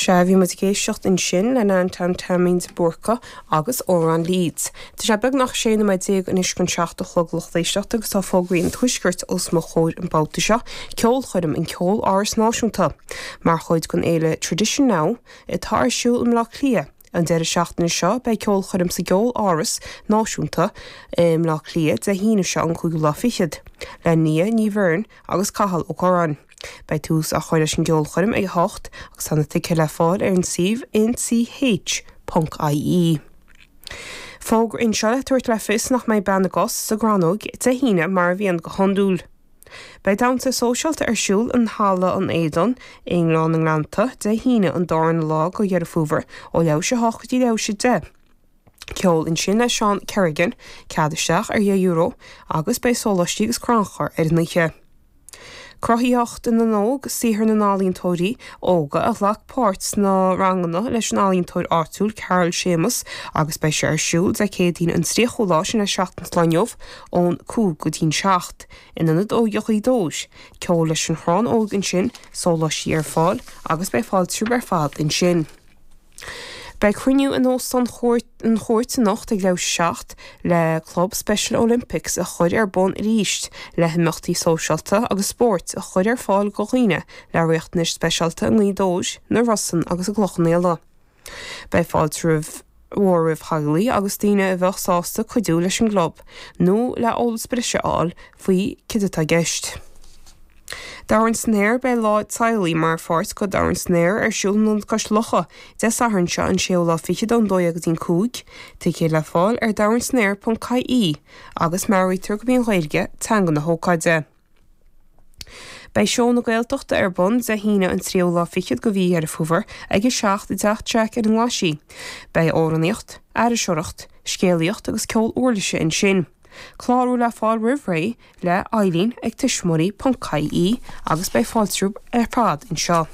Sea, bhí muid ag éisteacht ansin le Neantóin Taimín de Búrca agus Amhrán Leeds. Tá sé beagnach 16 nóiméad anois chun 7 a chlog lucht éisteachta agus tá fógraí an Tuaiscirt os mo chomhair an babhta seo, ceolchoirm in Ceol-Áras Náisiúnta mar chuid den fhéile Tradition Now atá ar siúl i mBleá Cliath. An deireadh seachtaine seo beidh ceolchoirm sa gCeol-Áras Náisiúnta i mBleá Cliath Dé hAoine seo an cúigiú lá fichead le Nia Ní Bheirn agus Cathal Ó Curráin. Beidh tús á chur leis an gceolchoirm ag 8 agus tá na ticéid le fáil ar an suíomh nch.ie. Fógra anseo le tabhairt le fios nach mbeidh Bean na gCos sa gCrannóg Dé hAoine mar a bhíonn go hiondúil. Beidh damhsa sóisialta ar siúl in Halla an Éadain i nGleann na nGleannta Dé hAoine an darna lá de Dheireadh Fómhair ó leathuair théis a hocht go dtí leathuair théis a deich. Ceol ansin le Seán Kerrigan, cead isteach ar dheich euro, agus beidh sóláistí agus crannchur ar an oíche. Cruthaitheacht na nÓg, saothar na n-ealaíontóirí óga a ghlac páirt sna ranganna leis an ealaíontóir áitiúil Carol Séamus agus beidh sé ar siúl Dé Céadaoin an 30ú lá, sin é seachtain ón lá inniu, ón 5 go dtí'n 7, in Ionad Óige Ghaoth Dobhair. Ceol leis an Chrann Óg ansin, sóláistí ar fáil agus beidh fáilte romhaibh ar fad ansin. Beidh cruinniú in Óstán an Chúirt anocht ag leathuair théis a 7 le Club Special Olympics a chur ar bun arís le himeachtaí sóisialta agus spóirt a chur ar fáil do dhaoine le riachtanais speisialta i nGaoth Dobhair, na Rosann agus i gCloich Cheann Fhaola. Beidh fáilte roimh mhór roimh theaghlaigh agus daoine a bheadh sásta cuidiú leis an gclub nó le eolas breise a fháil faoi cad atá i gceist. Dobhrán san Aer Beidh lá teaghlaigh mar pháirt de Dobhrán san Aer ar siúl in Ionad Cois Locha Dé Sathairn seo an séú lá fichead ón 12 go dtí'n 5. Ticéid le fáil ar dobhransanaer.ie agus meabhraítear gurb í an Ghaeilge teanga na hócáide. Beidh Seó na Gaeltachta ar bun Dé hAoine an tríú lá fichead de mhí Dheireadh Fómhair ag 7 i dTeach Jack ar an nGlaisigh. Beidh amhránaíocht, aithriseoireacht, scéalaíocht agus ceol uirlise ansin. Clárú le fáil roimh ré le Eileen ag tuismitheoirí ponc ie agus beidh fáilte romhaibh ar fad anseo.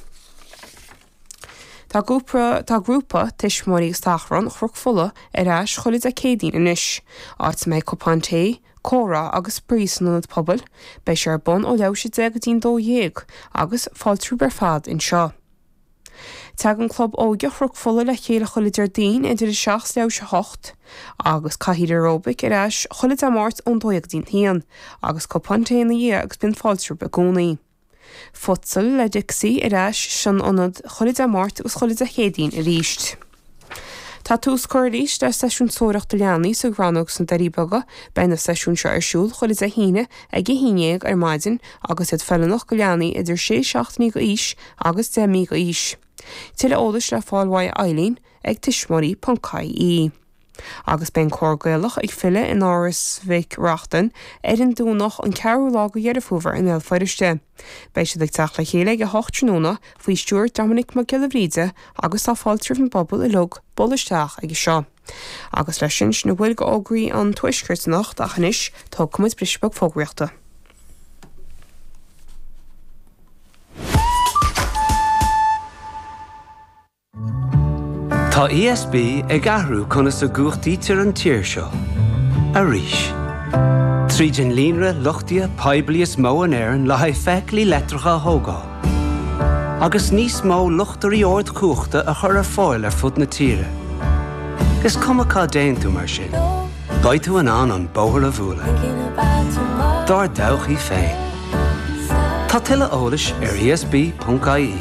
Tá grúpa Tá grúpa Tuismitheoirí agus Tachrann Chnoc Fola ar ais chuile Dé Céadaoin anois, áit a mbeidh cupán tae, comhrá agus spraoi san ionad pobail. Beidh sé ar bun ó leathuair théis 10 go dtí'n 12 agus fáilte romhaibh ar fad anseo. Tagann Club Óige Chnoc Fola le chéile chuile Déardaoin idir 7 's leathuair théis 8 agus cathaoir aeróbaic ar ais chuile Dé Máirt ón 12 go dtí'n 1 agus cupán tae ina dhiaidh agus bíonn fáilte romhaibh i gcónaí. Futsal le Dixie ar ais san ionad chuile Dé Máirt agus chuile Dé Céadaoin arís. Tá tús curtha arís le seisiún seoireachta leanaí sa gCrannóg sna Doirí Beaga. Beidh na seisiúin seo ar siúl chuile Dé hAoine ag 11 ar maidin agus iad feiliúnach go leanaí idir 6 seachtainí d'aois agus 10 mí d'aois. Tuilleadh eolais le fáil uaidh Eileen ag tuismitheoirí.ie. Agus beidh an Cór Gaelach ag filleadh in Áras Mhic Reachtain ar an Domhnach an 4ú lá de Dheireadh Fómhair i mBéal Feirste. Beidh siad ag teacht le chéile ag 8 tráthnóna faoi stiúir Dominic Mac Giolla Bhríde agus tá fáilte roimh an bpobal uilig bualadh isteach aige seo. Agus leis sin, sin a bhfuil de fhógraí an Tuaiscirt anocht ach anois tógfaidh muid briseadh beag fógraíochta. Tá ESB ag athrú conas a gcumhachtaítear an tír seo. Arís. Tríd an líonra luchtaithe poiblí is mó in Éirinn le haghaidh feithiclí leictreacha a thógáil. Agus níos mó luchtairí ardchumhachta a chur ar fáil ar fud na tíre. Is cuma cá dtéann tú mar sin, beidh tú in ann an bóthar a bhualadh. Dár dtodhchaí féin. Tá tuilleadh eolais ar esb.ie.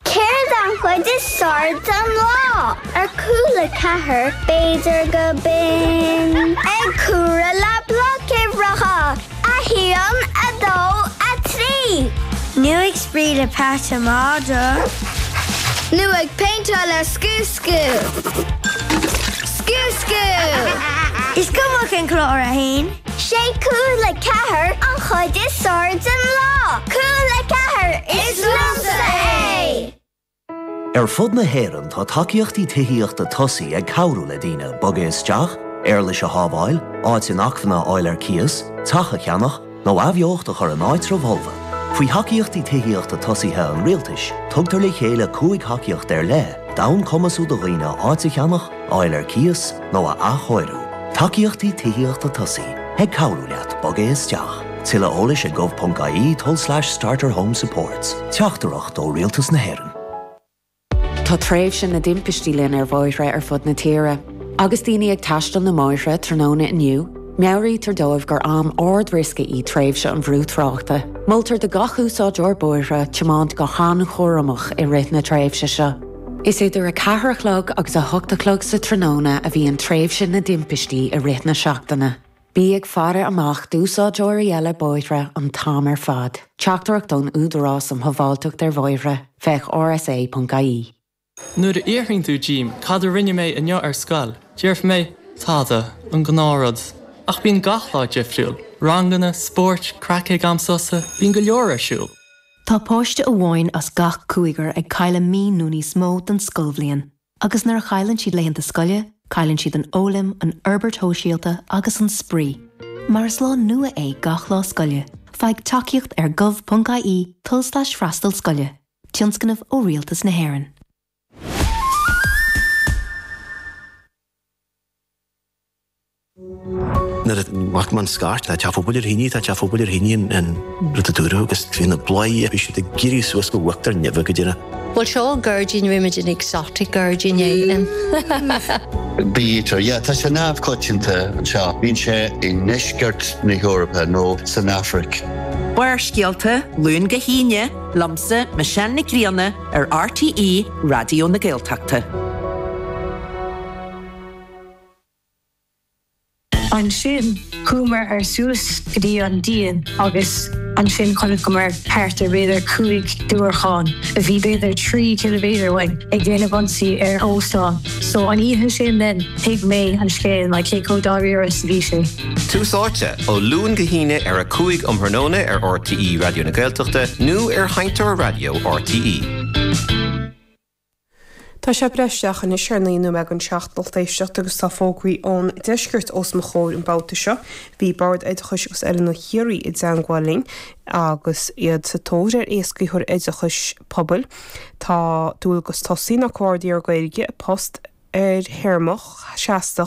Céard an chuid is fearr den lá? Ar Cúla 4, b'fhéidir go binn ag comhaireamh le blocuimhreacha, 1, 2, 3. Nó ag spraoi le peata madra. Nó ag péinteáil le Scú Scú. Scú Scú! Is cuma cén clár a théann. Sé Cúla 4 an chuid is fearr den lá! Cúla 4, is liomsa é! Ar fud na hÉireann tá tacaíochtaí tithíochta tosaigh ag cabhrú le daoine bogadh isteach, éarlais a shábháil, áit inacmhainne a fháil ar cíos, teach a cheannach, nó athbheocht a chur in áitribh fholmha. Faoi thacaíochtaí tithíochta tosaithe an Rialtais, tugtar le chéile 5 thacaíocht ar leith d'fhonn cumasú do dhaoine áit a cheannach, a fháil ar cíos nó a athchóiriú. Tacaíochtaí Tithíochta Tosaigh, ag cabhrú leat bogadh isteach. Tuilleadh eolais ag gov.ie tulslais starter home supports. Teachtaireacht ó Rialtas na hÉireann. Tá tréimhse na dtimpistí linn ar bhóithre ar fud na tíre. Agus daoine ag taisteal na mbóithre tráthnóna inniu, meabhraítear dóibh gur am ard-riosca í tréimhse an bhrú tráchta. Moltar do gach úsáideoir bóithre tiomáint go han-chúramach i rith na tréimhse seo. Is idir 4 a chlog agus 8 a chlog sa tráthnóna a bhíonn tréimhse na dtimpistí i rith na seachtaine. Bí ag faire amach d'úsáideoirí eile bóithre an t-am ar fad. Teachtaireacht ón Údarás um Shábháilteacht ar Bhóithre, féach rsa.ie. Nuair a fhiafraíonn tú díom cad a rinne mé inniu ar scoil, déarfaidh mé, tada, an gnáthrud. Ach bíonn gach lá difriúil, ranganna, spóirt, craic ag am sosa, bíonn go leor ar siúl. Tá páiste amháin as gach cúigear ag cailleadh mí nó níos mó den scoilbhliain. Agus nuair a chailleann siad laethanta scoile, cailleann siad an fhoghlaim, an fhorbairt shóisialta agus an spraoi. Mar is lá nua é gach lá scoile, faigh tacaíocht ar gov.ie tulslais freastal scoile, tionscnamh ó Rialtas na hÉireann. Nuair a bhfaca mé an scairt, tá teach pobail ar thine, tá teach pobail ar thine an rud a dúradh agus bhí na bláthaí, bhí siad ag éirí suas go uachtar neimhe go deireadh. Bhuel seo an gairdín, rímid an exotic gairdín é. Bee-eater, yeah, tá sé neamhchoitianta anseo. Bíonn sé i ndeisceart na hEorpa nó san Afraic. Barrscéalta, Luan go hAoine, liomsa, Michelle Nic Grianna, ar RTÉ Raidió na Gaeltachta. Ansin chuamar ar suas go dtí an díon agus ansin chonaiceamar thart ar b'fhéidir 5 diúracán a bhí b'fhéidir 3 ciliméadar uainn ag déanamh ionsaí ar óstán. So an oíche sin then thuig mé an scéal like cé chomh dáiríre is a bhí sé. Tús Áite, ó Luan go hAoine ar 5 um thráthnóna ar RTÉ Raidió na Gaeltachta nó ar Sheinnteoir Raidió RTÉ. Tá sé ag breith isteach anois ar 9 nóiméad don seacht lucht éisteachta agus tá fógraí ón deisceart os mo chomhair an babhta seo. Bhí Bord Oideachais agus Oiliúna Chiarraí i dteangmháil linn agus iad sa tóir ar éascaitheoir oideachais pobail. Tá dualgas tosaigh ná comhordaitheoir Gaeilge, post ar théarma seasta.